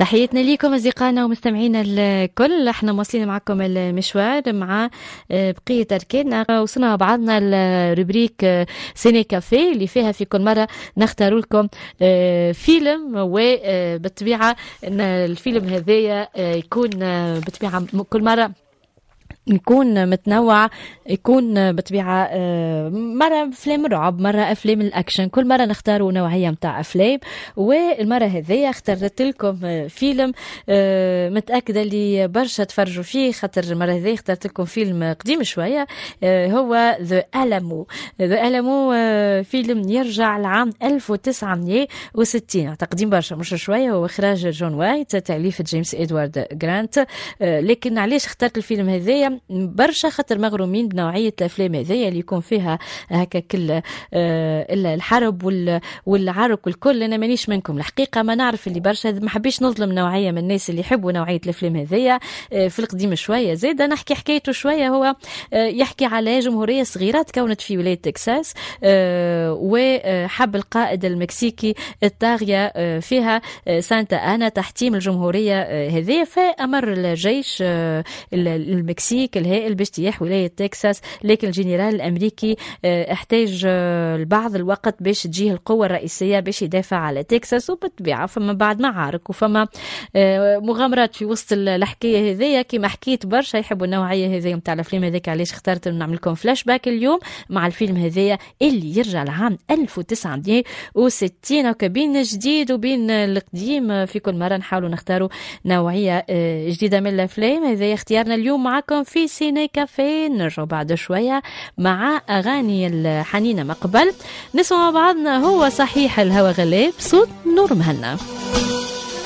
تحياتنا لكم اصدقائنا ومستمعينا الكل، احنا مواصلين معكم المشوار مع بقية اركاننا. وصلنا مع بعضنا ال rubrique ciné café اللي فيها في كل مرة نختار لكم فيلم، وبالطبيعه الفيلم هذايا يكون بالطبيعة كل مرة يكون متنوع، يكون بطبيعة مرة أفلام رعب، مرة أفلام الأكشن، كل مرة نختاروا نوعية متاع أفلام. والمرة هذيا اخترت لكم فيلم متأكدة اللي برشا تفرجوا فيه، خاطر المرة هذيا اخترت لكم فيلم قديم شوية، هو The Alamo. The Alamo فيلم يرجع لعام 1960، تقديم برشا مش شوية، هو إخراج جون وايت، تأليف جيمس إدوارد جرانت. لكن علاش اخترت الفيلم هذايا؟ برشا خاطر مغرومين بنوعية الأفلام هذيا اللي يكون فيها هكا كل الحرب والعرك والكل. أنا مانيش منكم الحقيقة، ما نعرف اللي برشا، ما حبيش نظلم نوعية من الناس اللي يحبوا نوعية الأفلام هذيا في القديم شوية. زيد نحكي حكايته شوية، هو يحكي على جمهورية صغيرة تكونت في ولاية تكساس، وحب القائد المكسيكي الطاغية فيها سانتا أنا تحتيم الجمهورية هذه، فأمر الجيش المكسيكي الهائل باجتياح ولاية تكساس. لكن الجنرال الأمريكي احتاج لبعض الوقت باش تجيه القوة الرئيسية باش يدافع على تكساس، وبالطبيعة فما بعد معارك وفما مغامرات في وسط الحكاية هذيا. كما حكيت برشا يحبوا النوعية هذيا نتاع الأفلام، هذاك علاش اخترت نعمل لكم فلاش باك اليوم مع الفيلم هذايا اللي يرجع لعام 1960. وكبين جديد وبين القديم، في كل مرة نحاولوا نختاروا نوعية جديدة من الأفلام. هذا اختيارنا اليوم معكم في ciné café. نرجع بعد شوية مع أغاني الحنينة. ما قبل نسمع مع بعضنا هو صحيح الهوى غلاب، صوت نور مهنا.